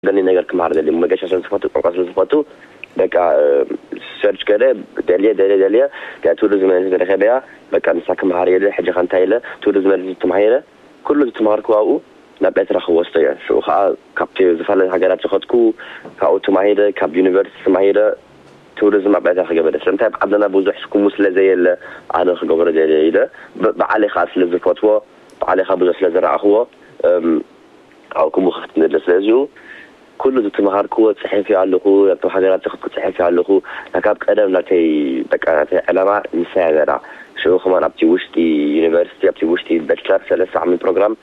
ደሊ ነገር ክምሃር ደሊ መገሻ ስለ ዝፈቱ ቋንቋ ስለ ዝፈቱ በቃ ሰርች ገለ ደልየ ደልየ ደልየ ቱሪዝም ተረኸበያ በቃ ንሳ ክምሃር የለ ሕጂ ከንታ የለ ቱሪዝም ተማሂረ ኩሉ ዝተማሃርኩ ኣብኡ ናብ ኤርትራ ክወስዶ እየ። ሽኡ ከዓ ካብቲ ዝተፈላለዩ ሃገራት ዝኸድኩ ካብኡ ተማሂረ ካብ ዩኒቨርሲቲ ተማሂረ ቱሪዝም ኣብ ኤርትራ ክገብረ ስለምንታይ ኣብ ዓድና ብዙሕ ስኩሙ ስለ ዘየለ ኣነ ክገብሮ ደልየ ኢለ ብዓለይ ከዓ ስለ ዝፈትዎ ብዓለይ ከዓ ብዙሕ ስለ ዝረኣኽዎ ኣብኡ ክምኽፍት ንደሊ። ስለዚኡ ኩሉ ዝተምሃርክዎ ጽሒፈዮ ኣለኹ፣ ናብቶም ሃገራት ዝኸድኩ ጽሒፈዮ ኣለኹ። ካብ ቀደም ናተይ በቃ ናተይ ዕላማ ንሳ እያ ነይራ። ሽዑ ከማን ኣብቲ ውሽጢ ዩኒቨርሲቲ ኣብቲ ውሽጢ በችለር ሰለስተ ዓመት ፕሮግራም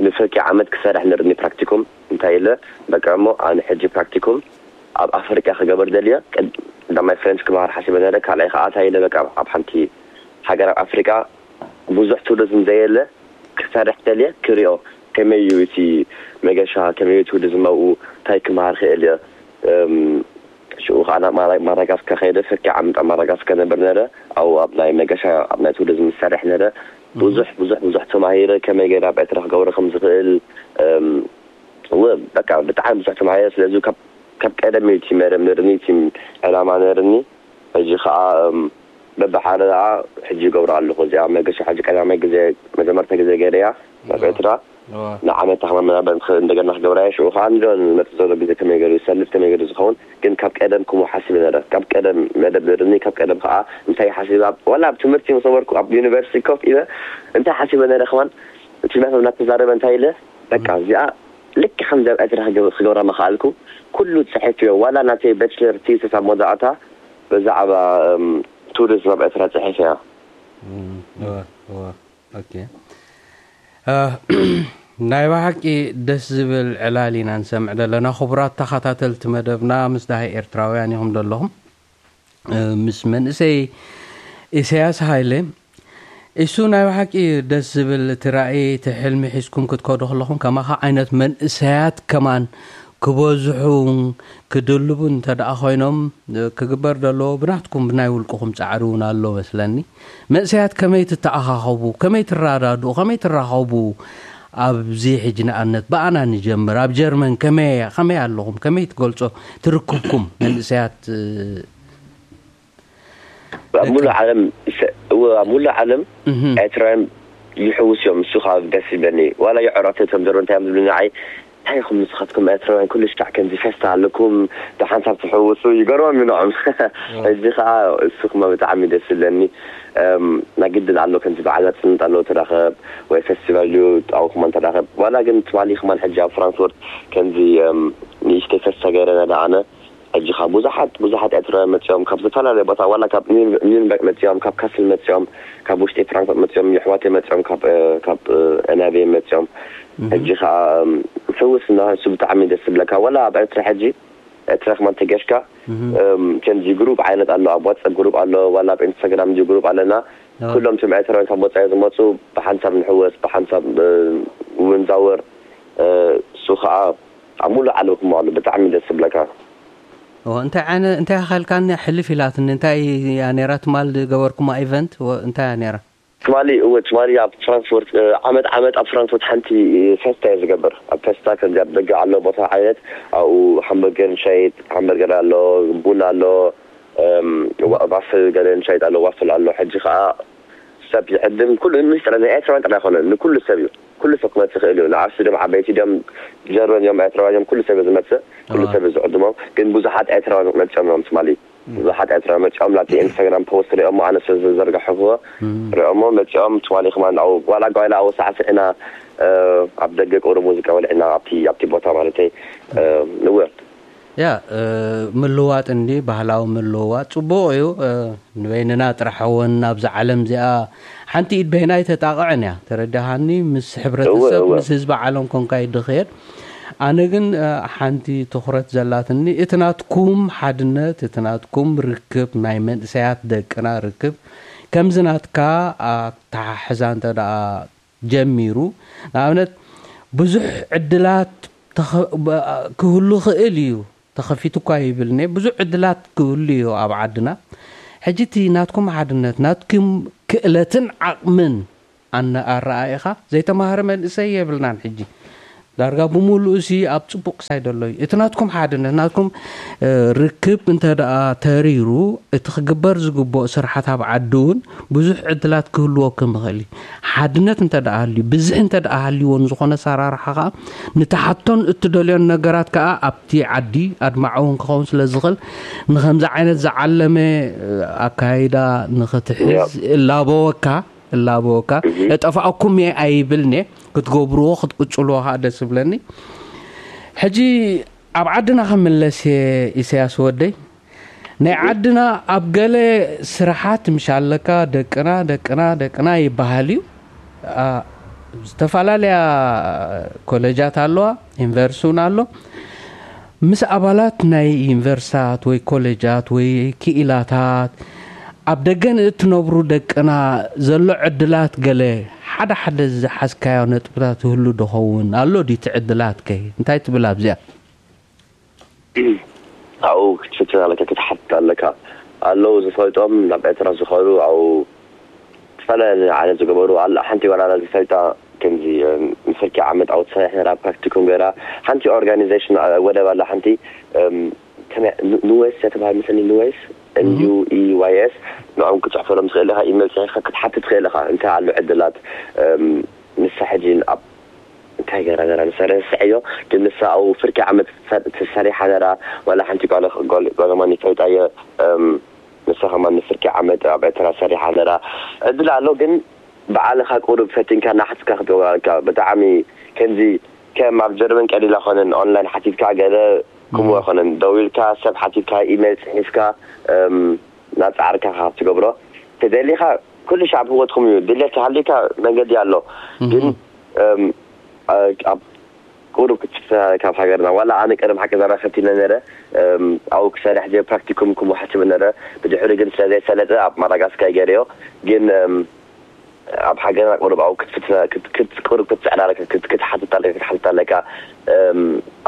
ንፍርቂ ዓመት ክሰርሕ ነርኒ ፕራክቲኩም እንታይ ኢለ በቃ እሞ ኣነ ሕጂ ፕራክቲኩም ኣብ ኣፍሪቃ ክገበር ደልየ ቀዳማይ ፍሬንች ክመሃር ሓሲበ ነረ ካልኣይ ከዓ እንታይ ኢለ በቃ ኣብ ሓንቲ ሃገር ኣብ ኣፍሪቃ ብዙሕ ቱሪዝም ዘየለ ክሰርሕ ደልየ ክሪኦ ከመይ እዩ እቲ መገሻ ከመይ እዩ ቱሪዝም ኣብኡ እንታይ ክመሃር ክእል እየ ሽኡ ከዓ ናብ ማዳጋስከር ከይደ ፍርቂ ዓመት ኣብ ማዳጋስከር ነበር ነረ ኣብኡ ኣብ ናይ መገሻ ኣብ ናይ ቱሪዝም ዝሰርሕ ነረ ብዙሕ ብዙሕ ብዙሕ ተማሂረ ከመይ ገይረ ኣብ ኤርትራ ክገብሮ ከም ዝኽእል እወ በቃ ብጣዕሚ ብዙሕ ተማሂረ ስለዚ ካብ ቀደም እዩ እቲ መደብ ነርኒ እቲ ዕላማ ነርኒ ሕጂ ከዓ በብሓደ ከዓ ሕጂ ይገብሮ ኣለኹ እዚኣ መገሻ ሕጂ ቀዳማይ ግዜ መጀመርታ ግዜ ገይረ እያ ናብ ኤርትራ ንዓመት ተክማ መናበ ንክእል እንደገና ክገብራ እየ ሽኡ ከዓ እንዶ ንመፅእ ዘሎ ግዜ ከመይ ገይሩ ይሰልፍ ከመይ ገይሩ ዝኸውን ግን ካብ ቀደም ክሙ ሓሲበ ነረ ካብ ቀደም መደብ ነርኒ ካብ ቀደም ከዓ እንታይ ሓሲበ ዋላ ኣብ ትምህርቲ ምስ ነበርኩ ኣብ ዩኒቨርሲቲ ኮፍ ኢለ እንታይ ሓሲበ ነረ ከማን እቲ መምህር እናተዛረበ እንታይ ኢለ በቃ እዚኣ ልክ ከምዚ ኣብ ኤርትራ ክገብራ ምኽኣልኩ ኩሉ ፅሒፍዮ ዋላ ናተይ በችለር ቲስስ ኣብ መወዳእታ ብዛዕባ ቱሪዝም ኣብ ኤርትራ ፅሒፈያ ናይ ብሓቂ ደስ ዝብል ዕላል ኢና ንሰምዕ ዘለና ክቡራት ተኸታተልቲ መደብና ምስ ዳሃይ ኤርትራውያን ኢኹም ዘለኹም ምስ መንእሰይ ኢሳያስ ሃይለ እሱ ናይ ብሓቂ ደስ ዝብል እቲ ራእይ እቲ ሕልሚ ሒዝኩም ክትከዱ ከለኹም ከማኻ ዓይነት መንእሰያት ከማን ክበዝሑ ክድልቡ እንተ ደኣ ኮይኖም ክግበር ዘለዎ ብናትኩም ብናይ ውልቅኹም ጻዕሪ እውን ኣሎ መስለኒ። መንእሰያት ከመይ ትተኣኻኸቡ፣ ከመይ ትረዳድኡ፣ ከመይ ትራኸቡ ኣብዚ ሕጂ ንኣብነት ብኣና ንጀምር ኣብ ጀርመን ከመይ ከመይ ኣለኹም ከመይ ትገልጾ ትርክብኩም መንእሰያት ኣብ ሙሉ ዓለም እወ ኣብ ሙሉ ዓለም ኤርትራውያን ይሕውስ እዮም እሱ ካብ ደስ ይብለኒ ዋላ የዕራተ ከም ዘሮ እንታይ እዮም ዝብሉ ንዓይ እንታይ ኢኹም ንስኻትኩም ኤርትራውያን ኩሉ ሻዕ ከምዚ ፌስታ ኣለኩም ብሓንሳብ ትሕውሱ ይገርሞም እዩ ንዖም ሕጂ ከዓ እሱ ክማ ብጣዕሚ ደስ ይብለኒ ናይ ግድን ኣሎ ከምዚ በዓል መፅንት ኣሎ ተራኸብ ወይ ፌስቲቫል ድዩ ኣብኹማ ተራኸብ ዋላ ግን ትማሊ ክማን ሕጂ ኣብ ፍራንክፎርት ከምዚ ንእሽተይ ፌስታ ገይረ ነዳ ኣነ ሕጂ ካብ ብዙሓት ብዙሓት ኤርትራውያን መፅኦም ካብ ዝተፈላለዩ ቦታ ዋላ ካብ ኒውንበርግ መፅኦም ካብ ካስል መፅኦም ካብ ውሽጢ ፍራንክፈርት መፅኦም የሕዋተይ መፅኦም ካብ ካብ ኤናቤ መፅኦም ሕጂ ከዓ ሕውስ እናሃሱ ብጣዕሚ ደስ ዝብለካ ዋላ ኣብ ኤርትራ ሕጂ ኤርትራ ክማን ተገሽካ ከምዚ ግሩፕ ዓይነት ኣሎ ኣብ ዋትሳፕ ግሩፕ ኣሎ ዋላ ኣብ ኢንስታግራም እዚ ግሩፕ ኣለና ኩሎም ቶም ኤርትራውያን ካብ ወፃኢ ዝመፁ ብሓንሳብ ንሕወስ ብሓንሳብ እውን ዛወር እሱ ከዓ ኣብ ሙሉእ ዓለም ክመሃሉ ብጣዕሚ ደስ ዝብለካ። እወ እንታይ ዓይነ እንታይ ኣኸልካኒ ሕልፍ ኢላትኒ እንታይ እያ ነይራ ትማል ዝገበርኩማ ኢቨንት እንታይ እያ ነይራ? ትማሊ እወ ትማሊ ኣብ ፍራንክፎርት ዓመት ዓመት ኣብ ፍራንክፎርት ሓንቲ ፌስታ እየ ዝገብር ኣብ ፌስታ ከምዚ ኣብ ደገ ኣሎ ቦታ ዓይነት ኣብኡ ሃምበርገር ንሸይጥ ሃምበርገር ኣሎ ቡና ኣሎ ዋፍል ገለ ንሸይጥ ኣሎ ዋፍል ኣሎ ሕጂ ከዓ ሰብ ይዕድም ኩሉ ምስጢር ናይ ኤርትራውያን ጥራይ ኣይኮነን ንኩሉ ሰብ እዩ ኩሉ ሰብ ክመፅእ ይኽእል እዩ ንዓብሲ ድም ዓበይቲ ድም ጀርመን እዮም ኤርትራውያን እዮም ኩሉ ሰብ እዩ ዝመፅእ ኩሉ ሰብ እዩ ዝዕድሞም ግን ብዙሓት ኤርትራውያን መፅኦም እዮም ትማሊ ብዙሓት ኤርትራውያን መፅኦም ናብቲ ኢንስታግራም ፖስት ሪኦሞ ኣነ ስለ ዝዘርጋሕክዎ ሪኦሞ መፅኦም ትማሊ ከማን ኣብኡ ዋላ ጓይላ ኣብኡ ሳዕስዒና ኣብ ደገ ቅብሪ ሙዚቃ ወልዕና ኣብቲ ኣብቲ ቦታ ማለተይ ንወ ያ ምልዋጥ እንዲ ባህላዊ ምልውዋጥ ጽቡቕ እዩ። ንበይንና ጥራሕ እውን ኣብዚ ዓለም እዚኣ ሓንቲ ኢድ በይና ኣይተጣቕዕን እያ። ተረዳሃኒ? ምስ ሕብረተሰብ፣ እወ። ምስ ህዝቢ ዓለም ኮንካ እዩ ድኽየድ። ኣነ ግን ሓንቲ ትኹረት ዘላትኒ እቲ ናትኩም ሓድነት፣ እቲ ናትኩም ርክብ፣ ናይ መንእሰያት ደቅና ርክብ ከምዚ ናትካ ኣተሓሕዛ እንተ ደኣ ጀሚሩ ንኣብነት ብዙሕ ዕድላት ክህሉ ይኽእል እዩ ተኸፊቱ እኳ ይብል እኒሀ ብዙሕ ዕድላት ክህሉ እዩ ኣብ ዓድና ሕጂ እቲ ናትኩም ሓድነት ናትኩም ክእለትን ዓቕምን ኣነ ኣረኣኢኻ ዘይተማህረ መንእሰይ የብልናን ሕጂ ዳርጋ ብምሉኡ ሲ ኣብ ጽቡቕ ሳይድ ኣሎ እዩ። እቲ ናትኩም ሓድነት፣ ናትኩም፣ እ፣ ርክብ እንተ ደኣ ተሪሩ፣ እቲ ክግበር ዝግብኦ ስራሓት ኣብ ዓዲ እውን ብዙሕ ዕድላት ክህልወኩም ይኽእል እዩ። ሓድነት እንተ ደኣ ሃልዩ፣ ብዝሒ እንተ ደኣ ሃልይዎ፣ ንዝኾነ ኣሰራርሓ ከኣ ንትሓቶን እትደልዮን ነገራት ከኣ ኣብቲ ዓዲ ኣድማዒ እውን ክኸውን ስለ ዝኽእል፣ ንኸምዚ ዓይነት ዝዓለመ፣ እ፣ ኣካይዳ ንኽትሕዝ እላበወካ። እላበወካ። እጠፍኣኩም እየ ኣይብልን እየ። ክትገብርዎ ክትቅጽልዎ ከዓ ደስ ይብለኒ። ሕጂ ኣብ ዓድና ክምለስ እየ፣ ኢሳያስ ወደይ። ናይ ዓድና ኣብ ገለ ስራሓት ምሽ ኣለካ፣ ደቅና፣ ደቅና፣ ደቅና ይበሃል እዩ። አ፣ ዝተፈላለያ ኮሌጃት ኣለዋ፣ ዩኒቨርሲቲ እውን ኣሎ። ምስ ኣባላት ናይ ዩኒቨርሲታት ወይ ኮሌጃት ወይ ክኢላታት ኣብ ደገ ንእትነብሩ ደቅና ዘሎ ዕድላት ገለ ሓደ ሓደ ዝሓዝካዮ ነጥብታት ይህሉ ዶ ኸውን? ኣሎ ድዩ እቲ ዕድላት ከ? እንታይ ትብል ኣብዚኣ? ኣብኡ ክትፍትን ኣለካ፣ ክትሓትት ኣለካ። ኣለዉ ዝፈልጦም ናብ ኤርትራ ዝኸዱ ኣብኡ ዝተፈላለየ ዓይነት ዝገበሩ ኣላ። ሓንቲ ጓል ኣላ ዝፈልጣ ከምዚ፣ እም፣ ንፍርቂ ዓመት ኣብኡ ትሰርሕ ነራ ፕራክቲኩም ገይራ። ሓንቲ ኦርጋኒዜሽን፣ እ፣ ወደብ ኣላ ሓንቲ፣ እም፣ ከመይ ኑ-፣ ኑዌስ እያ ትበሃል መሰለኒ፣ ኑዌስ፣ እም። ኤን ዩ ኢ ዋይ ኤስ፣ ንዕኦም ክትጽሕፈሎም ትኽእል ኢኻ፣ ኢሜል ጽሒፍካ ክትሓትት ትኽእል ኢኻ። እንታይ ኣሎ ዕድላት፣ እም፣ ንሳ ሕጂ ኣብ እንታይ ገይራ ነራ ንሳ ረስዐዮ፣ ግን ንሳ ኣብኡ ፍርቂ ዓመት ትሰ-፣ ትሰሪሓ ነራ፣ ዋላ ሓንቲ ጓል-፣ ጓል-፣ ጓል ከማን ይፈልጣ እየ፣ እም፣ ንሳ ከማን ንፍርቂ ዓመት ኣብ ኤርትራ ሰሪሓ ነራ። ዕድል ኣሎ፣ ግን ባዕልኻ ቁሩብ ፈቲንካ ናሕስካ ክትገብሮ ኣለካ። ብጣዕሚ ከምዚ ከም ኣብ ጀርመን ቀሊል ኣይኮነን፣ ኦንላይን ሓቲትካ ገለ ከምኡ እም። ኣይኮነን። ደዊልካ ሰብ ሓቲትካ፣ ኢሜል ጽሒፍካ፣ እም፣ ናጻዕርካ ኢኻ ትገብሮ። ተደሊኻ ኩሉ ሻዕ ኣብ ህይወትኩም እዩ። ድሌት ተሃልዩካ መንገዲ ኣሎ። እም። ግን፣ እም፣ ኣ-፣ ኣብ ቁሩብ ክትፍትና ካብ ሃገርና። ዋላ ኣነ ቀደም ሓቂ ዛራ ፈቲነ ነረ፣ እም፣ ኣብኡ ክሰርሕ ድየ ፕራክቲኩም ክወሓስብ ነረ። ብድሕሪ ግን ስለ ዘይሰለጠ ኣብ ማዳጋስካር ገይረዮ። ግን፣ እም፣ ኣብ ሃገርና ቁሩብ ኣብኡ ክትፍትና፣ ክት-፣ ክት-፣ ቁሩብ ክትጽዕር ኣለካ፣ ክት-፣ ክትሓትት ኣለካ፣ ክትሓትት ኣለካ። እም፣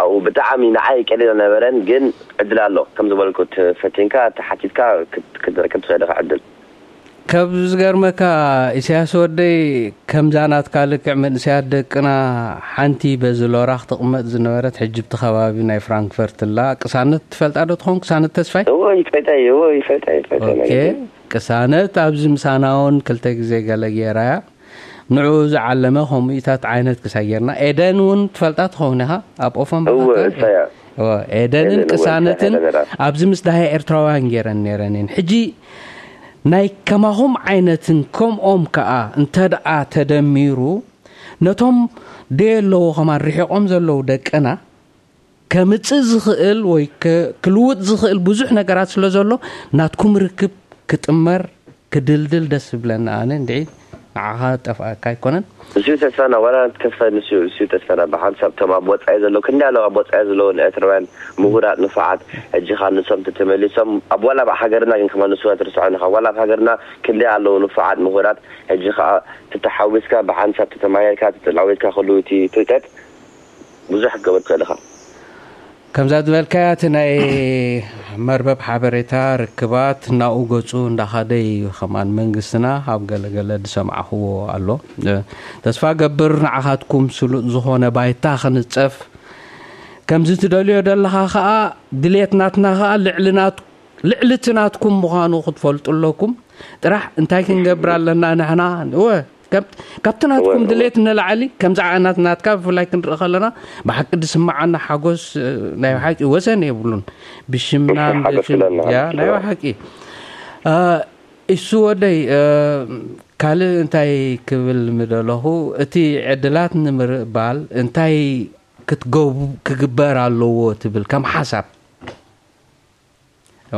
ኣብኡ ብጣዕሚ ንዓይ ቀሊል ኣይነበረን፣ ግን ዕድል ኣሎ። ከም ዝበልኩ፣ ተፈቲንካ፣ ተሓቲትካ ክት-፣ ክትረክብ ትኽእል ኢኻ ዕድል። ካብ ዝገርመካ፣ ኢሳያስ ወደይ፣ ከምዛ ናትካ ልክዕ መንእሰያት ደቅና ሓንቲ በዚ ሎራ ክትቕመጥ ዝነበረት፣ ሕጂ ብቲ ከባቢ ናይ ፍራንክፈርት ኣላ። ቅሳነት ትፈልጣ ዶ ትኸውን? ቅሳነት ተስፋይ? እዎ፣ ይፈልጣ እየ፣ እዎ፣ ይፈልጣ እየ፣ ይፈልጣ እየ፣ ኦኬ። ነገር ግን ቅሳነት ኣብዚ ምሳና እውን ክልተ ግዜ ገለ ገይራ እያ። ንዕኡ ዝዓለመ ከምኡታት ዓይነት ክሳይ ጌርና። ኤደን እውን ትፈልጣ ትኸውን ኢኻ? ኣብ ኦፈን እወ፣ ባኻካ? እሳ እያ። እወ፣ ኤደንን ኤደን፣ እወ፣ እሳ ቅሳነትን እያ ነራ። ኣብዚ ምስ ደሃይ ኤርትራውያን ገይረን ነይረን እየን። ሕጂ ናይ ከማኹም ዓይነትን ከምኦም ከኣ እንተ ደኣ ተደሚሩ፣ ነቶም ደየለዎ ከማን ርሒቖም ዘለዉ ደቅና፣ ከምጽእ ዝኽእል ወይ ከ-፣ ክልውጥ ዝኽእል ብዙሕ ነገራት ስለ ዘሎ፣ ናትኩም ርክብ ክጥመር፣ ክድልድል ደስ ዝብለኒ ኣነ እንድዒ። ንዓኻ ጠፍኣካ ኣይኮነን። እዚዩ ተስፋና፣ ዋላ ተስፋ ንሱ፣ እዚዩ ተስፋና። ብሓንሳብ እቶም ኣብ ወጻኢ ዘለዉ፣ ክንደይ ኣለዉ ኣብ ወጻኢ ዘለዉ ንኤርትራውያን ምሁራት፣ ንፉዓት፣ ሕጂ ኸኣ ንሶም ተተመሊሶም፣ ኣብ ዋላ ኣብ ሃገርና ግን ከማን ንሱ ኣይትርስዖን ኢኻ። ዋላ ኣብ ሃገርና ክንደይ ኣለዉ ንፉዓት ምሁራት፣ ሕጂ ኸኣ ተተሓዊስካ፣ ብሓንሳብ ተተማሂርካ፣ ተተላዊጥካ ከለዉ እቲ ፍልጠት ብዙሕ ክትገብር ትኽእል ኢኻ። ከምዛ ዝበልካያ፣ እቲ ናይ መርበብ ሓበሬታ ርክባት ናብኡ ገጹ እንዳኸደ እዩ። ከማን መንግስትና ኣብ ገለ ገለ ዝሰማዕኽዎ ኣሎ። እ፣ ተስፋ ገብር ንዓኻትኩም ስሉጥ ዝኾነ ባይታ ክንጸፍ። ከምዚ ትደልዮ ዘለኻ ኸኣ፣ ድሌት ናትና ኸኣ ልዕሊ ናት-፣ ልዕሊ እቲ ናትኩም ምዃኑ ክትፈልጡ ኣለኩም። ጥራሕ እንታይ ክንገብር ኣለና ንሕና? እወ፣ ካብ-፣ ካብቲ ናትኩም እወ፣ እወ። ድሌት ንላዕሊ፣ ከምዚ ዓይነት ናትካ ብፍላይ ክንርኢ ከለና፣ ብሓቂ ዝስምዓና ሓጎስ፣ እ፣ ናይ ብሓቂ ወሰን የብሉን። ብሽምና፣ ሓጎስ ብሽም-፣ ክለና፣ ያ፣ ናይ እወ። ብሓቂ። እ፣ እሱ ወደይ፣ እ፣ ካልእ እንታይ ክብል ምደለኹ፣ እቲ ዕድላት ንምርባል እንታይ ክትገቡ-፣ ክግበር ኣለዎ ትብል ከም ሓሳብ?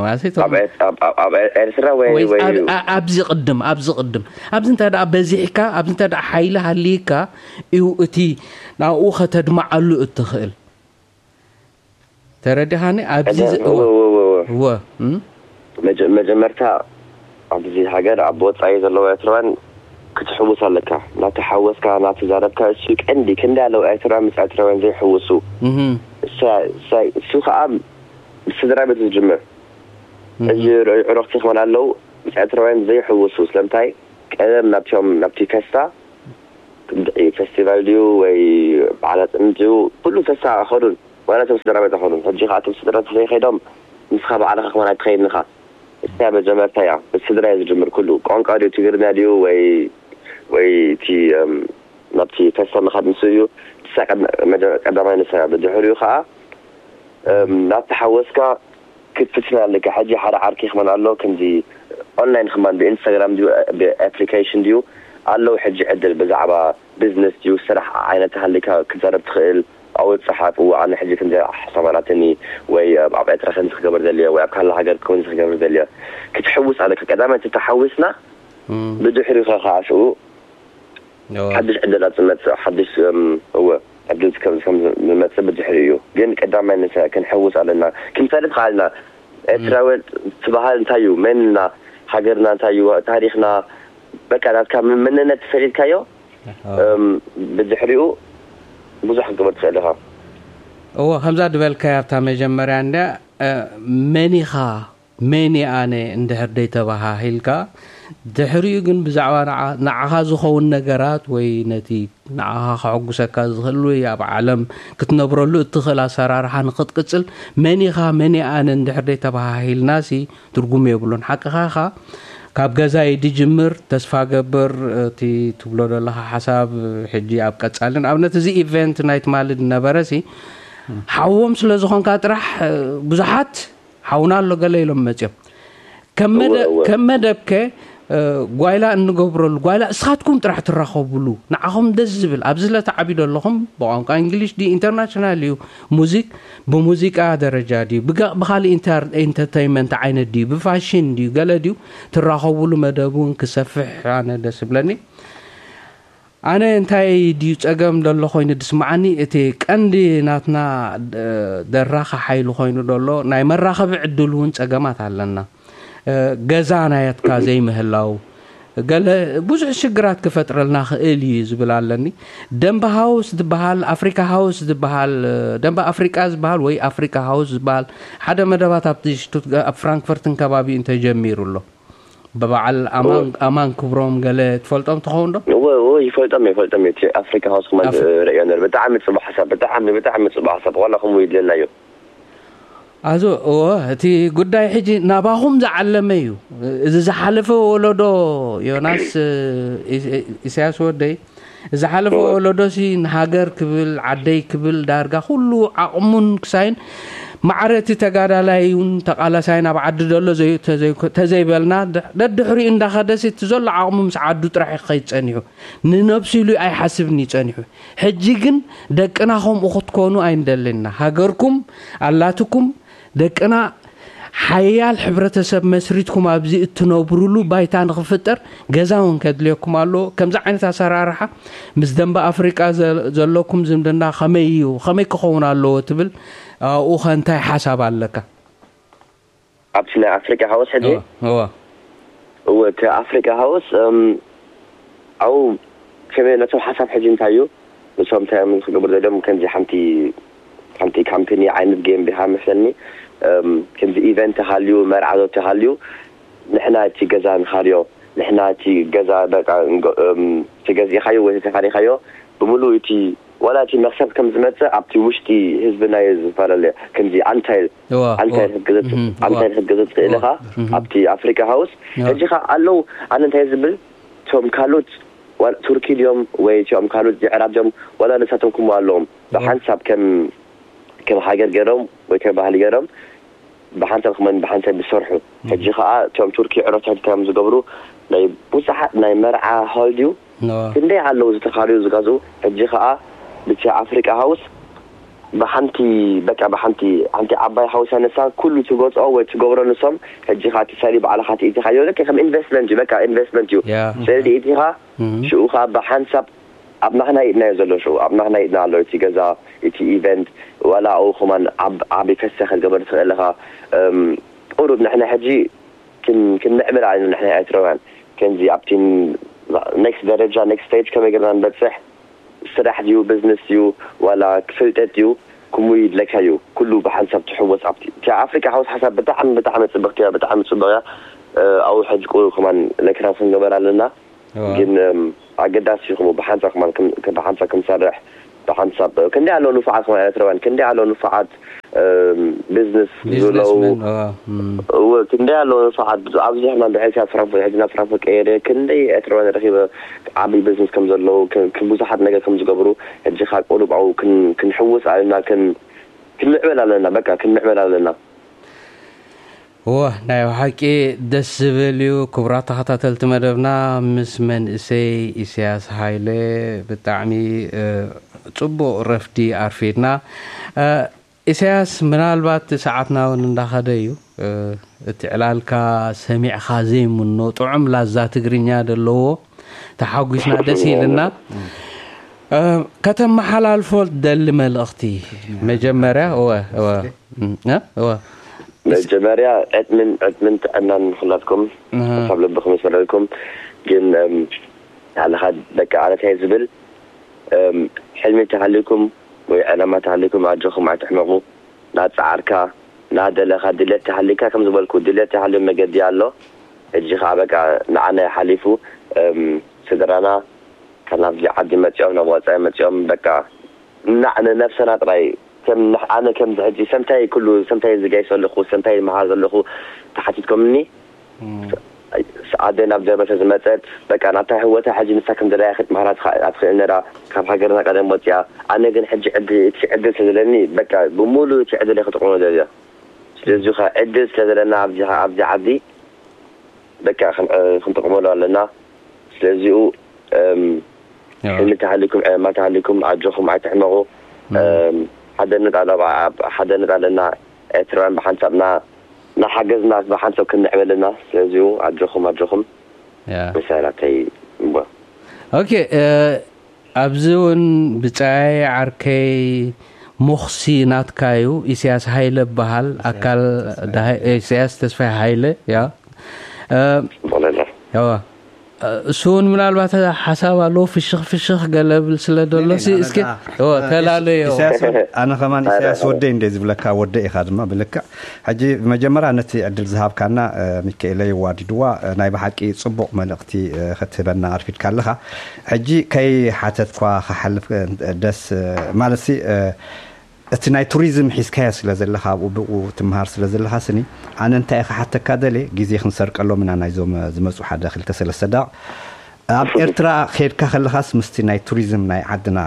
ማለት እዩ፣ ኣብ ኤር-፣ ኣብ፣ ኣብ፣ ኣብ ኤርትራ ወይ፣ ወይ ወይ ኣብ፣ ኣ-፣ ኣብዚ ቅድም፣ ኣብዚ ቅድም። ኣብዚ እንተ ደኣ በዚሕካ፣ ኣብዚ እንተ ደኣ ሓይሊ ሃልይካ እዩ እቲ ናብኡ ከተድምዓሉ እትኽእል። ተረዲኻኒ? ኣብዚ እዛ፣ ዝ-፣ እወ፣ እወ፣ እወ፣ እወ። እወ፣ እም? መጀ-፣ መጀመርታ ኣብዚ ሃገር ኣብ ወጻኢ ዘለዉ ኤርትራውያን ክትሕውስ ኣለካ። እናተሓወስካ፣ እናተዛረብካ፣ እሱ ቀንዲ። ክንደይ ኣለዉ ኤርትራውያን ምስ ኤርትራውያን ዘይሕውሱ? እህም። እሳ-፣ እሳ-፣ እሱ ኸኣ ብስድራ ቤት ዝጅምር። እህ። እዚ ር-፣ ዕረኽቲ ክኾን ኣለዉ፣ ምስ ኤርትራውያን ዘይሕውሱ። ስለምንታይ? ቀደም ናብቶም፣ ናብቲ ከስታ ፌስቲቫል ድዩ ወይ በዓል ኣፅንት ድዩ፣ ኩሉ ተስፋ ኣይኸዱን። ዋላ እቶም ስድራ ቤት ኣይኸዱን። ሕጂ ከዓ እቶም ስድራ ዘይኸይዶም፣ ንስኻ ባዕልኻ ከማን ኣይትኸይድን ኢኻ። እስያ መጀመርታ እያ፣ ብስድራ እዩ ዝጅምር ኩሉ። ቋንቋ ድዩ፣ ትግርኛ ድዩ ወይ ወይ እቲ ናብቲ ፌስቲቫል ምኻድ ንሱ እዩ። ንሳ ቀዳማይ ንሳ። ብድሕሪኡ ከዓ ናብቲ ሓወስካ ክትፍትን ኣለካ። ሕጂ ሓደ ዓርኪ ክመን ኣሎ፣ ከምዚ ኦንላይን ክመን ብኢንስታግራም ድዩ ብኣፕሊኬሽን ድዩ ኣለዉ። ሕጂ ዕድል ብዛዕባ ቢዝነስ ድዩ ስራሕ ዓይነት ሃልካ ክትዛረብ ትኽእል። ኣው ጸሓፍ፣ እዋ ኣነ ሕጂ ከምዚ ሓሳብ ኣላትኒ፣ ወይ ኣብ ኤርትራ ከምዚ ክገብር ዘልዮ፣ ወይ ኣብ ካልእ ሃገር ከምዚ ክገብር ዘልዮ፣ ክትሕውስ ኣለካ። ቀዳማይ እቲ ተሓዊስና፣ ብድሕሪኡ ከ ከኣ ሽኡ ሓድሽ ዕድላት ዝመጽእ ሓድሽ እወ ዕድል ከም ከም ዝመጽእ ብድሕሪ እዩ። ግን ቀዳማይ ንሰ ክንሕውስ ኣለና፣ ክንፈልጥ ከኣልና። ኤርትራዊ ትበሃል እንታይ እዩ? መንና፣ ሃገርና እንታይ እዩ? ታሪኽና፣ በቃ ናትካ መንነት ፈሊጥካዮ ብድሕሪኡ ብዙሕ ክትገብር ትኽእል ኢኻ። እዎ ከምዛ ዝበልካያ ኣብታ መጀመርያ እንድያ መን ኢኻ መን እየ ኣነ እንድሕር ደይተበሃሂልካ፣ ድሕሪኡ ግን ብዛዕባ ንዓኻ ዝኸውን ነገራት ወይ ነቲ ንዓኻ ከሐጉሰካ ዝኽእል ወይ ኣብ ዓለም ክትነብረሉ እትኽእል ኣሰራርሓ ንኽትቅጽል መን ኢኻ መን እየ ኣነ እንድሕር ደይተበሃሂልናሲ ትርጉም የብሉን። ሓቅኻ ኢኻ። ካብ ገዛ እዩ ድጅምር። ተስፋ ገብር እቲ ትብሎ ዘለኻ ሓሳብ ሕጂ ኣብ ቀጻሊ ንኣብነት እዚ ኢቨንት ናይ ትማሊ ዝነበረ ሲ ሓዎም ስለ ዝኾንካ ጥራሕ ብዙሓት ሓውና ኣሎ ገለ ኢሎም መፅዮም ከም መደብከ ጓይላ እንገብረሉ ጓይላ እስኻትኩም ጥራሕ ትራኸቡሉ ንዓኹም ደስ ዝብል ኣብዚ ለተዓቢዶ ኣለኹም ብቋንቋ እንግሊሽ ዲ ኢንተርናሽናል እዩ ሙዚክ ብሙዚቃ ደረጃ ድዩ ብካሊእ ኢንተርተይመንት ዓይነት ድዩ ብፋሽን ድዩ ገለ ድዩ ትራኸቡሉ መደብ እውን ክሰፍሕ ኣነ ደስ ብለኒ ኣነ እንታይ ድዩ ጸገም ደሎ ኮይኑ ድስምዓኒ እቲ ቀንዲ ናትና ደራኺ ሓይሊ ኮይኑ ደሎ ናይ መራኸቢ ዕድል እውን ጸገማት ኣለና ገዛ ናየትካ ዘይምህላው ገለ ብዙሕ ሽግራት ክፈጥረልና ክእል እዩ ዝብል ኣለኒ ደንበ ሃውስ ዝበሃል ኣፍሪካ ሃውስ ዝበሃል ደንበ ኣፍሪቃ ዝበሃል ወይ ኣፍሪካ ሃውስ ዝበሃል ሓደ መደባት ኣብ ፍራንክፈርትን ከባቢኡ እንተጀሚሩ ኣሎ ብበዓል ኣማን ክብሮም ገለ ትፈልጦም ትኸውን ዶ? እወ እወ ይፈልጦም እየ ይፈልጦም እየ እቲ ኣፍሪካ ሃውስ ክመን ርእዮ ነር ብጣዕሚ ፅቡቅ ሓሳብ ብጣዕሚ ብጣዕሚ ፅቡቅ ሓሳብ ዋላ ከምኡ ይድለና እዩ። ኣዞ እወ እቲ ጉዳይ ሕጂ ናባኹም ዝዓለመ እዩ እዚ ዝሓለፈ ወለዶ ዮናስ ኢሳያስ ወደይ ዝሓለፈ ወለዶሲ ንሃገር ክብል ዓደይ ክብል ዳርጋ ኩሉ ዓቕሙን ክሳይን ማዕረ እቲ ተጋዳላይ እውን ተቓላሳይን ኣብ ዓዲ ዘሎ ተዘይበልና ደድሕሪኡ እንዳኸደሲ እቲ ዘሎ ዓቕሙ ምስ ዓዱ ጥራሕ ክኸይድ ጸኒሑ ንነብሱ ኢሉ ኣይሓስብን እዩ ጸኒሑ ሕጂ ግን ደቅና ከምኡ ክትኮኑ ኣይንደልና ሃገርኩም ኣላትኩም ደቅና ሓያል ሕብረተሰብ መስሪትኩም ኣብዚ እትነብሩሉ ባይታ ንኽፍጠር ገዛ እውን ከድልየኩም ኣለዎ። ከምዚ ዓይነት ኣሰራርሓ ምስ ደንበ ኣፍሪቃ ዘለኩም ዝምድና ከመይ እዩ? ከመይ ክኸውን ኣለዎ ትብል ኣብኡ ከ እንታይ ሓሳብ ኣለካ? ኣብቲ ናይ ኣፍሪቃ ሃውስ ሕጂ እወ እቲ ኣፍሪቃ ሃውስ ኣብኡ ከመይ ነቶም ሓሳብ ሕጂ እንታይ እዩ ንሶም እንታይ እዮም ክገብሩ ዘሎም ከምዚ ሓንቲ ሓንቲ ካምፕኒ ዓይነት ገይም ቢሃ መስለኒ ከምዚ ኢቨንት ሃልዩ መርዓ ዶ ተሃልዩ ንሕና እቲ ገዛ ንኻርዮ ንሕና እቲ ገዛ በቃ ተገዚእኻዮ ወይ ተኻሪኻዮ ብምሉእ እቲ ዋላ እቲ መኽሰብ ከም ዝመፅእ ኣብቲ ውሽጢ ህዝብና እዩ ዝፈላለ ከምዚ ኣንታይ ኣንታይ ክትገዘፅ ትኽእል ኢኻ ኣብቲ ኣፍሪካ ሃውስ ሕጂ ኸ ኣለዉ ኣነ እንታይ ዝብል እቶም ካልኦት ቱርኪ ድዮም ወይ እቲኦም ካልኦት የዕራብ ድዮም ዋላ ንሳቶም ክምኡ ኣለዎም ብሓንሳብ ከም ከም ሃገር ገይሮም ወይ ከም ባህሊ ገይሮም ብሓንሳብ ክመን ብሓንሳብ ዝሰርሑ ሕጂ ከዓ እቶም ቱርኪ ዕረፍቲ ሕጂ ከም ዝገብሩ ናይ ብዙሓት ናይ መርዓ ሆል ድዩ ክንደይ ኣለዉ ዝተኻርዩ ዝገዝኡ ሕጂ ከዓ ብቲ ኣፍሪቃ ሃውስ ብሓንቲ በቃ ብሓንቲ ሓንቲ ዓባይ ሃውስ ኣነሳ ኩሉ ትገዝኦ ወይ ትገብሮ ንሶም ሕጂ ከዓ እቲ ሰሪ ባዕልካ ትኢትኻዮ ልክ ከም ኢንቨስትመንት እዩ በቃ ኢንቨስትመንት እዩ ሰሪ ድኢትኻ ሽኡ ከዓ ብሓንሳብ ኣብ ናህና ኢድና እዩ ዘሎ ሽኡ ኣብ ናህና ኢድና ኣሎ እቲ ገዛ እቲ ኢቨንት ዋላ ኣብኡ ከማን ዓቢ ፈሰ ክትገበር ትኽእል ኢኻ ቁሩብ ንሕና ሕጂ ክንምዕብል ኣለና ንሕና ኤርትራውያን ከምዚ ኣብቲ ኔክስት ደረጃ ኔክስት ስቴጅ ከመይ ገርና ንበፅሕ ስራሕ ድዩ ቢዝነስ ድዩ ዋላ ክፍልጠት ድዩ ክሙ ይድለካ እዩ ኩሉ ብሓንሳብ ትሕወስ ኣብቲ እቲ ኣፍሪካ ሓውስ ሓሳብ ብጣዕሚ ብጣዕሚ ፅብቅቲ እያ ብጣዕሚ ፅቡቅ እያ ኣብኡ ሕጂ ቁሩብ ከማን ለክራም ክንገበር ኣለና ግን ኣገዳሲ ይኹም ብሓንሳብ ከማን ብሓንሳብ ክንሰርሕ ብሓንሳብ ክንደይ ኣለዉ ንፉዓት ከማን ኤርትራውያን ክንደይ ኣለዉ ንፉዓት ቢዝነስ ዝብለዉ እወ ክንደይ ኣለዉ ንፉዓት ኣብዚ ሕማን ብሕልፊ ኣብ ፍራንክፈርት ሕጂ ናብ ፍራንክፈርት ቀይረ ክንደይ ኤርትራውያን ረኺበ ዓብዪ ቢዝነስ ከም ዘለዉ ብዙሓት ነገር ከም ዝገብሩ ሕጂ ካብ ቁሩብ ኣብኡ ክንሕውስ ኣለና ክንምዕበል ኣለና በቃ ክንምዕበል ኣለና። እወ ናይ ብሓቂ ደስ ዝብል እዩ። ክቡራት ተኸታተልቲ መደብና ምስ መንእሰይ ኢሳያስ ሃይለ ብጣዕሚ ጽቡቕ ረፍዲ ኣርፊድና። ኢሳያስ ምናልባት ሰዓትና እውን እንዳኸደ እዩ። እቲ ዕላልካ ሰሚዕኻ ዘይምኖ ጥዑም ላዛ ትግርኛ ዘለዎ ተሓጒስና ደስ ኢልና። ከተመሓላልፎ ደሊ መልእኽቲ መጀመርያ እወ እወ እወ መጀመርያ ዕድምን ዕድምን ጥዕናን ንኩላትኩም ካብ ልብኹም ይስመረልኩም። ግን ንዓለኻ በቃ ኣነታይ ዝብል ሕልሚ ተሃሊኩም ወይ ዕላማ ተሃሊኩም ኣጆኹም ኣይትሕመቑ። ናጻዓርካ ናደለኻ ድሌት ተሃሊካ ከም ዝበልኩ ድሌት ተሃልዮም መገዲ ኣሎ። ሕጂ ከዓ በቃ ንዓና ሓሊፉ ስድራና ካብ ናብዚ ዓዲ መፂኦም ናብ ወፃኢ መፂኦም በቃ ንነብሰና ጥራይ ከም ኣነ ከምዚ ሕጂ ሰምታይ ኩሉ ሰምታይ ዝጋይ ዘለኹ ሰምታይ መሃር ዘለኹ ተሓቲትኮምኒ ኣደ ናብ ጀርመን ዝመፀት በቃ ናታ ህወታ ሕጂ ንሳ ከም ደላያ ክትመሃራ ኣትኽእል ነራ ካብ ሃገርና ቀደም ወፅያ ኣነ ግን ሕጂ ዕድል እቲ ዕድል ስለዘለኒ በቃ ብሙሉ እቲ ዕድል ክጥቅሞ ደልያ ስለዚ ከ ዕድል ስለዘለና ኣብዚ ዓዲ በቃ ክንጥቅመሉ ኣለና ስለዚኡ ሕልሚ ተሃሊኩም ዕለማ ተሃሊኩም ኣጆኹም ኣይትሕመቑ ሓደነት ኣለና ኤርትራውያን ብሓንሳብና ናሓገዝና ብሓንሳብ ክንዕበልና ስለዚኡ ኣጆኹም ኣጆኹም ምሳይ ናተይ እምቦ ኦኬ ኣብዚ እውን ብጻይ ዓርከይ ሞኽሲ ናትካ እዩ ኢሳያስ ሃይለ በሃል ኣካል ኢሳያስ ተስፋይ ሃይለ ያ እሱ እውን ምናልባት ሓሳብ ኣለዎ ፍሽኽ ፍሽኽ ገለ ብል ስለ ደሎ እስከ ተላለዮ ኣነ ከማን ኢሳያስ ወደይ እንደ ዝብለካ ወደ ኢኻ ድማ ብልክዕ ሕጂ መጀመርያ ነቲ ዕድል ዝሃብካና ሚካኤለይ ዋዲድዋ ናይ ብሓቂ ጽቡቕ መልእኽቲ ክትህበና ኣርፊድካ ኣለኻ ሕጂ ከይ ሓተትኳ ክሓልፍ ደስ ማለት እቲ ናይ ቱሪዝም ሒዝካዮ ስለ ዘለኻ ኣብኡ ብኡ ትምሃር ስለ ዘለኻ ስኒ ኣነ እንታይ ክሓተካ ደልየ ግዜ ክንሰርቀሎም ኢና ናይዞም ዝመፁ ሓደ ክልተ ሰለስተ ደቕ ኣብ ኤርትራ ከድካ ከለኻስ ምስቲ ናይ ቱሪዝም ናይ ዓድና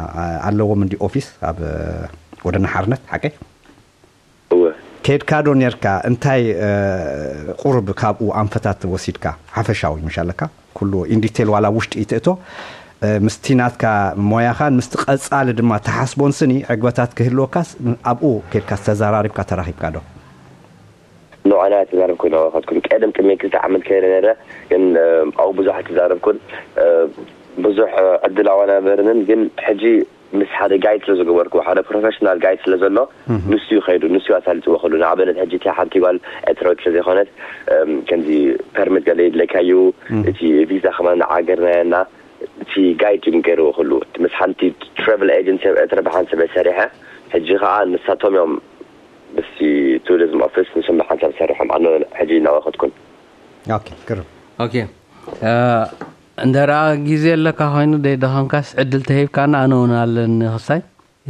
ኣለዎም እንዲ ኦፊስ ኣብ ወደና ሓርነት ሓቀይ ከድካ ዶ ነርካ እንታይ ቁርብ ካብኡ ኣንፈታት ወሲድካ ሓፈሻዊ ምሻለካ ኩሉ ኢንዲቴል ዋላ ውሽጢ ይትእቶ ምስቲ ናትካ ሞያኻን ምስቲ ቀጻሊ ድማ ተሓስቦን ስኒ ዕግበታት ክህልወካስ ኣብኡ ከድካ ተዘራሪብካ ተራኺብካ ዶ ንዓና ተዛረብኩ ናባኻትኩም ቀደም ቅድሚ ክልተ ዓመት ከይደ ነረ ግን ኣብኡ ብዙሕ ተዛረብኩን ብዙሕ ዕድል ኣዋናበርንን ግን ሕጂ ምስ ሓደ ጋይድ ስለ ዝገበርኩ ሓደ ፕሮፌሽናል ጋይድ ስለ ዘሎ ንሱ እዩ ከይዱ ንሱ ኣሳልጥዎ ከሉ ንኣብነት ሕጂ እቲያ ሓንቲ ጓል ኤርትራዊት ስለ ዘይኮነት ከምዚ ፐርሚት ገለ ይድለካ እዩ እቲ ቪዛ ከማን ንዓገርናየና እቲ ጋይድ እዩ ገይርዎ ከሉ ምስ ሓንቲ ትራቨል ኤጀንሲ ኣብ ኤርትራ ብሓንሰበ ሰሪሐ ሕጂ ከዓ ንሳቶም እዮም ምስቲ ቱሪዝም ኦፊስ ንስም ብሓንሳብ ዝሰርሖም ኣነ ሕጂ እናወኸትኩን ግርም እንተ ደኣ ግዜ ኣለካ ኮይኑ ደይደኸምካስ ዕድል ተሂብካና ኣነ እውን ኣለኒ ክሳይ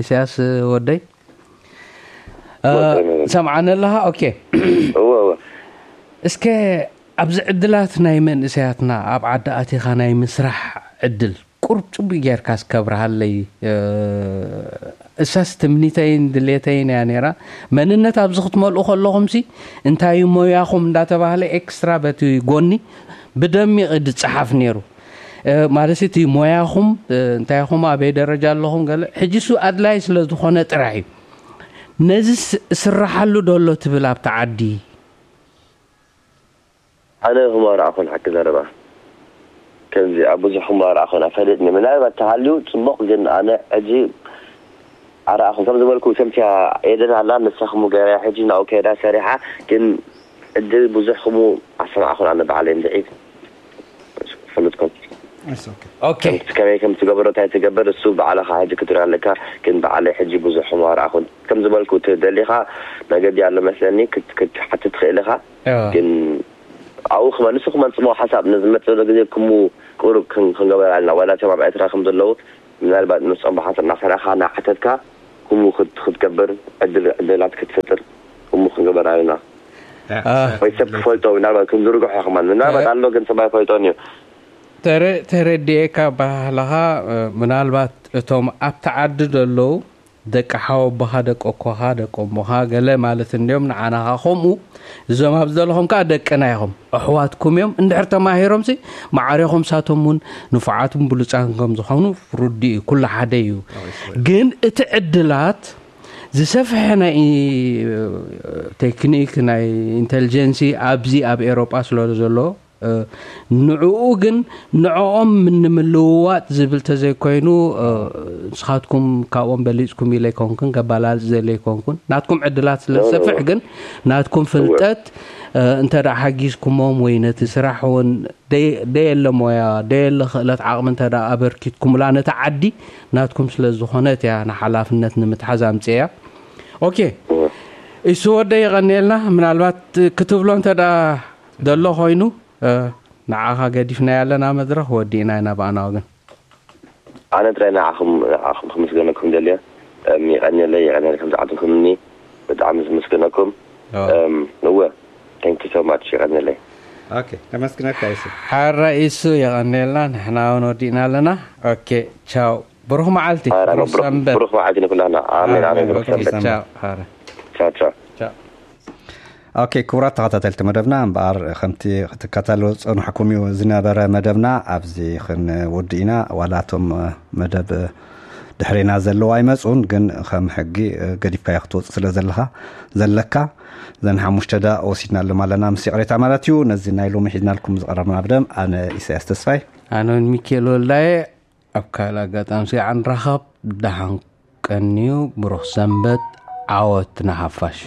ኢሳያስ ወደይ ሰምዓኒ ኣለኻ ኦኬ እስከ ኣብዚ ዕድላት ናይ መንእሰያትና ኣብ ዓዲ ኣቲኻ ናይ ምስራሕ ዕድል ቁሩብ ጽቡይ ጌርካ እስከ ኣብርሃለይ። እሳስ ትምኒተይን ድሌተይን እያ ነይራ። መንነት ኣብዚ ክትመልኡ ከለኹምሲ እንታይ እዩ ሞያኹም እንዳተባህለ ኤክስትራ በቲ ጎኒ ብደሚቕ እዩ ዝጸሓፍ ነይሩ። ማለት እቲ ሞያኹም እንታይ ኢኹም ኣበይ ደረጃ ኣለኹም ገለ ሕጂ እሱ ኣድላይ ስለ ዝኾነ ጥራሕ እዩ። ነዚ ስራሓሉ ዶ ኣሎ ትብል ኣብቲ ዓዲ? ኣነ ህሞ ኣርኣኹን ሓቂ ዘረባ ከምዚ ኣብ ብዙሕ ህሞ ኣርኣኹን ኣፈለጥኒ ምናልባት ተሃልዩ ጽቡቕ ግን ኣነ ሕጂ ኣርኣኹን ከም ዝበልኩ ከምቲያ ኤደን ኣላ ንሳኹም ገራ ሕጂ ናብኡ ከይዳ ሰሪሓ ግን ዕድል ብዙሕ ክሙ ኣሰማዕኹን ኣነ ባዕለይ እንድዒ ፍሉጥኩም ኦኬ ከመይ ከም ትገብሮ እንታይ ትገብር እሱ ባዕልኻ ሕጂ ክትርኢ ኣለካ ግን ባዕለይ ሕጂ ብዙሕ ህሞ ኣርኣኹን ከም ዝበልኩ ደሊኻ መገዲ ኣሎ መስለኒ ክትሓትት ትኽእል ኢኻ ግን ኣብኡ ክመ ንሱ ክመን ጽቡቕ ሓሳብ ንዝመጽእ ዘሎ ግዜ ክሙ ቅሩብ ክን- ክንገበር ኣለና። ዋላ እቶም ኣብ ኤርትራ ከም ዘለዉ ምናልባት ንሶም ብሓንሳብ እናሰራኻ እናሓተትካ ክሙ ክት- ክትገብር ዕድል ዕድላት ክትፈጥር ክሙ ክንገበር ኣለና። ወይ ሰብ ክፈልጦ ምናልባት ክንዝርግሖ ክመን ምናልባት ኣሎ ግን ሰብ ኣይፈልጦን እዩ። ተረዲኤካ ባህላኻ። ምናልባት እቶም ኣብቲ ዓዲ ዘለዉ ደቂ ሓወቦኻ ደቂ ኣኮኻ ደቂ እሞኻ ገለ ማለት እንዲኦም ንዓናኻ ከምኡ እዞም ኣብ ዘለኹም ከዓ ደቅና ኢኹም ኣሕዋትኩም እዮም። እንድሕር ተማሂሮም ሲ ማዕሬኹም ሳቶም እውን ንፉዓትን ብሉፃን ከም ዝኾኑ ርዱ እዩ። ኩሉ ሓደ እዩ። ግን እቲ ዕድላት ዝሰፍሐ ናይ ቴክኒክ ናይ ኢንቴሊጀንሲ ኣብዚ ኣብ ኤሮጳ ስለ ዘሎ ንዕኡ ግን ንዕኦም ንምልውዋጥ ዝብል ተዘይኮይኑ ንስኻትኩም ካብኦም በሊፅኩም ኢለ ይኮንኩን ከባላልፅ ዘለ ይኮንኩን ናትኩም ዕድላት ስለ ዝሰፍሕ ግን ናትኩም ፍልጠት እንተ ደኣ ሓጊዝኩሞም ወይ ነቲ ስራሕ እውን ደየለ ሞያ ደየለ ክእለት ዓቕሚ እንተ ደኣ ኣበርኪትኩምላ ነቲ ዓዲ ናትኩም ስለ ዝኾነት እያ ንሓላፍነት ንምትሓዝ ኣምፅያ። ኦኬ፣ እሱ ወደ የቐንየልና። ምናልባት ክትብሎ እንተ ደኣ ዘሎ ኮይኑ ንዓኻ ገዲፍና ያለና መድረኽ ወዲእና ኢና ብኣና ወገን። ኣነ ጥራይ ንዓኹም ንዓኹም ክምስገነኩም ደልየ። የቐንየለይ፣ የቐንየለይ ከም ዝዓልትኩምኒ ብጣዕሚ ዝምስገነኩም። እወ፣ thank you so much፣ የቐንየለይ። ኦኬ፣ ነመስግነካ ይሱ። ሓራ ኢሱ የቐንየልና። ንሕና እውን ወዲእና ኣለና። ኦኬ፣ ቻው። ብሩኽ መዓልቲ፣ ብሩኽ ሰንበት። ብሩኽ መዓልቲ ንኩላና። ኣሜን፣ ኣሜን። ብሩኽ ሰንበት። ቻው። ሓራ። ቻው፣ ቻው። ቻው። ኦኬ፣ ክቡራት ተኸታተልቲ መደብና፣ እምበኣር ከምቲ ክትከታተልዎ ዝጸንሕኩም እዩ ዝነበረ መደብና፣ ኣብዚ ክንውድእ ኢና። ዋላ እቶም መደብ ድሕሬና ዘለዉ ኣይመጹን፣ ግን ከም ሕጊ ገዲፍካዮ ክትወጽእ ስለ ዘለኻ ዘለካ ዘን ሓሙሽተ ደኣ ወሲድናሎም ኣለና ምስ ይቕሬታ ማለት እዩ። ነዚ ናይ ሎሚ ሒዝናልኩም ዝቐረብና መደብ ኣነ ኢሳያስ ተስፋይ። ኣነ እውን ሚኪኤል ወልዳየ። ኣብ ካልእ ኣጋጣሚ ስጋዕ ንራኸብ። ደሓን ቀንዩ። ብሩኽ ሰንበት። ዓወት ንሓፋሽ።